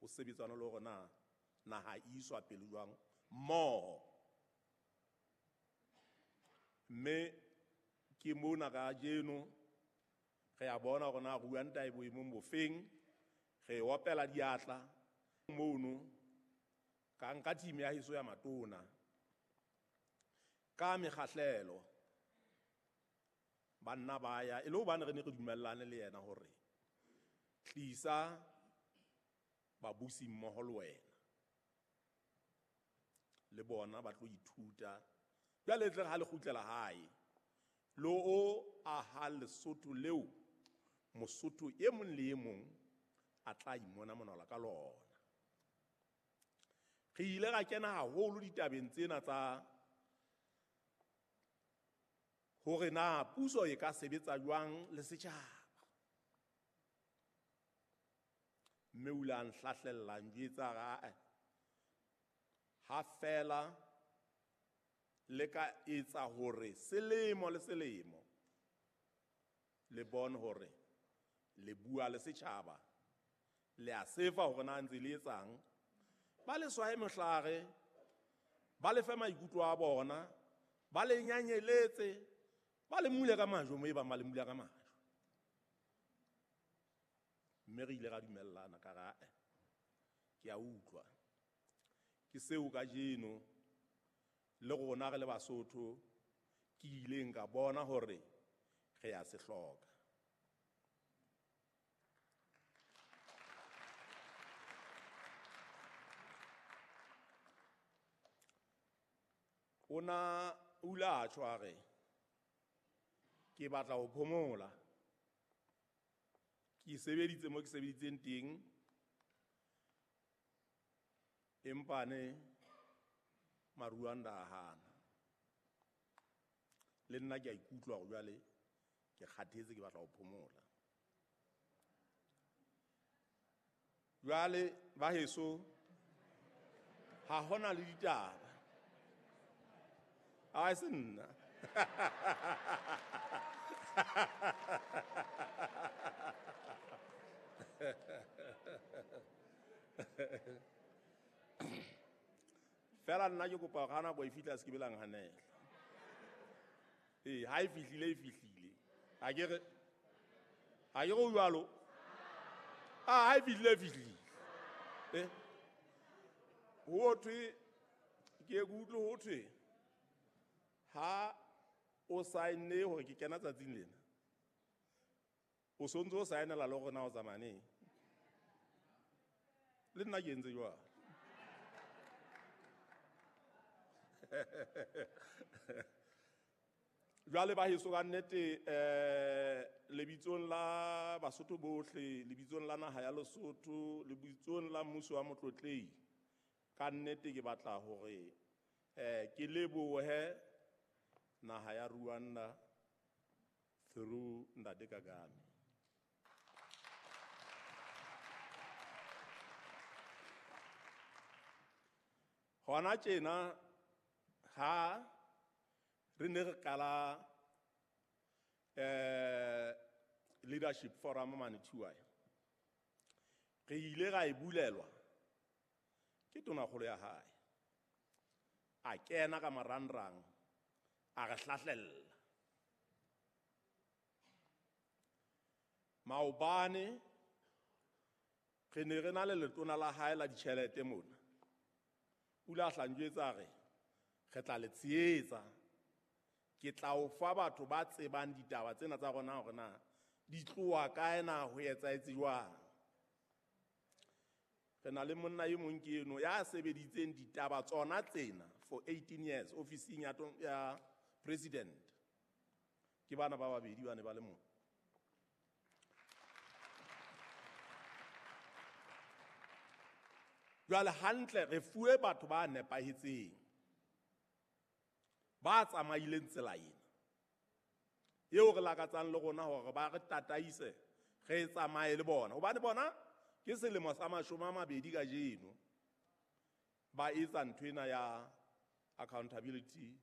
Ho sebetsana le hore na naha e iswa pele jwang mmoho. Mme ke mona kajeno re a bona hore na Rwanda e boemong bofeng, re opela diatla mono ka nka team ya heso ya matona ka mekgahlelo banna ba ya e le hobane re ne re dumellane le yena hore tlisa babusi mmoho le wena le bona ba tlo ithuta. Jwale tle ha le kgutlela hae lo o aha Lesotho leo Mosotho e mong le e mong a tla imona monwala ka lona. Re ile ra kena haholo ditabeng tsena tsa hore na puso e ka sebetsa jwang le setjhaba. Mme o ile a nhlahlella njwetsa ha fela le ka etsa hore selemo le selemo le bone hore le bua le setjhaba, le a sefa hore na ntse le etsang, ba le swae mohlare, ba le fe maikutlo a bona, ba le nyanyeletse, ba le mule ka majwe mo e bang ba le mula ka majwe. Mme re ile ra dumellana ka ra ke a utlwa. Ke seo kajeno le rona re le Basotho ke ileng ka bona hore re a se hloka. O na o ile a tjho a re ke batla ho phomola, ke sebeditse mo ke sebeditseng teng, empa ne Maruanda a hana. Le nna ke a ikutlwa hore jwale ke kgathetse, ke batla ho phomola. Jwale ba heso ha hona le ditaba. A se nna. Fela nna ke kopa hore ha nako e fihla se ke be la nhanela. Ee, ha e fihlile e fihlile. Ha ke re o jwalo. Ah, ha e fihlile e fihlile. Eh. Ho thwe ke utlwe ho thwe ha o saenne hore ke kena tsatsing lena, o sontse o saenela le hore na o tsamaya neng. Le nna ke entse jwalo. Jwale ba heso ka nnete lebitsong la Basotho bohle, lebitsong la naha ya Lesotho, lebitsong la mmuso wa Motlotlei, ka nnete ke batla hore ke lebohe naha ya Rwanda through Ntate Kagame. Hona tjena ha re ne re qala leadership forum mane Thuai, re ile ra e bulelwa ke tonakgolo ya hae. A kena ka marangrang a re hlahlella. Maobane re ne re na le letona la hae la ditjhelete mona. O ile a hla njwetsa a re re tla le tshehetsa, ke tla o fa batho ba tsebang ditaba tsena tsa rona hore na di tloha kae, na ho etsahetse jwang. Re na le monna e mong ke eno ya sebeditseng ditaba tsona tsena for 18 years ofising ya president. Ke bana ba babedi ba ne ba le mona. Jwale hantle re fuwe batho ba nepahetseng, ba tsamaileng tsela ena eo re lakatsang le rona hore ba re tataise, re tsamaye le bona. Hobane bona ke selemo sa 20 kajeno ba etsa ntho ena ya accountability